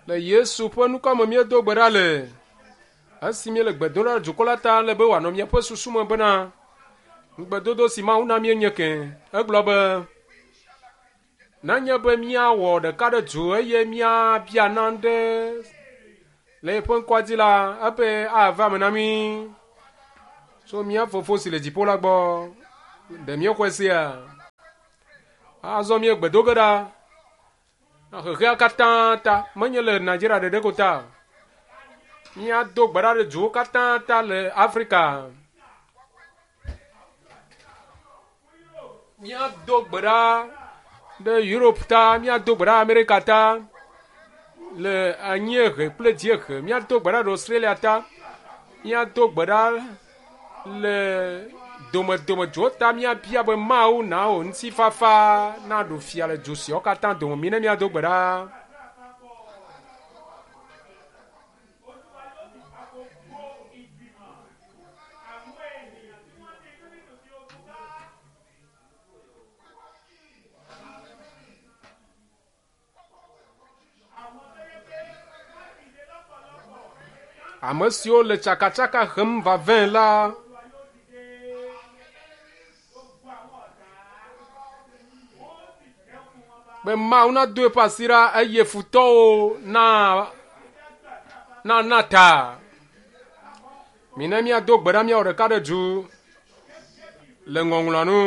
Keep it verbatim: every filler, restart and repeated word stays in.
Le Yesu ƒe ŋkɔ me míedo gbe ɖa le. Esi míele gbe dom ɖa le dukɔ la ta le be wòanɔ míaƒe susu me bena ŋugbedodo si Mawu na míenye ke. Egblɔ be nenye be míawɔ ɖeka ɖe du eye míabia nane le eƒe ŋkɔa dzi la, eƒe ava me na mí tso mía fofo si le dziƒo la gbɔ. Ɖe míexɔe sia? Azɔ míegbe do ge ɖa na xexea katã ta, menye le Nigeria ɖeɖe ko ta. Míado gbe ɖa ɖe duwo katã ta le Afrika. Míado gbe ɖa ɖe Europe ta, míado gbe ɖa Amerika ta, le anyiehe kple dziehe, míado gbe ɖa ɖe Australia ta, míado gbe ɖa le domedomeduwo ta, míabia be Mawu na wò ŋutifafa naɖu fia le du siawo katã dome. Mi ne míado gbe ɖa. Olúwa yóò sì pa gbogbo ìgbìmọ̀ àwọn ènìyàn tí wọ́n ní inú dídùn sí ogun ká. Àwọn tó yẹ pé wọ́n dìde lọ́pọ̀lọpọ̀ Ame siwo le tsakatsaka hem va vɛ la, Olúwa yóò dìde gbogbo àwọn ọ̀tá wọ́n ó sì dẹ́kun wọn bá. be Mawu nado eƒe asi ɖa eye futɔwo na na na ta. Mi ne míado gbe ɖa míawɔ ɖeka ɖe du le ŋɔŋlɔa nu.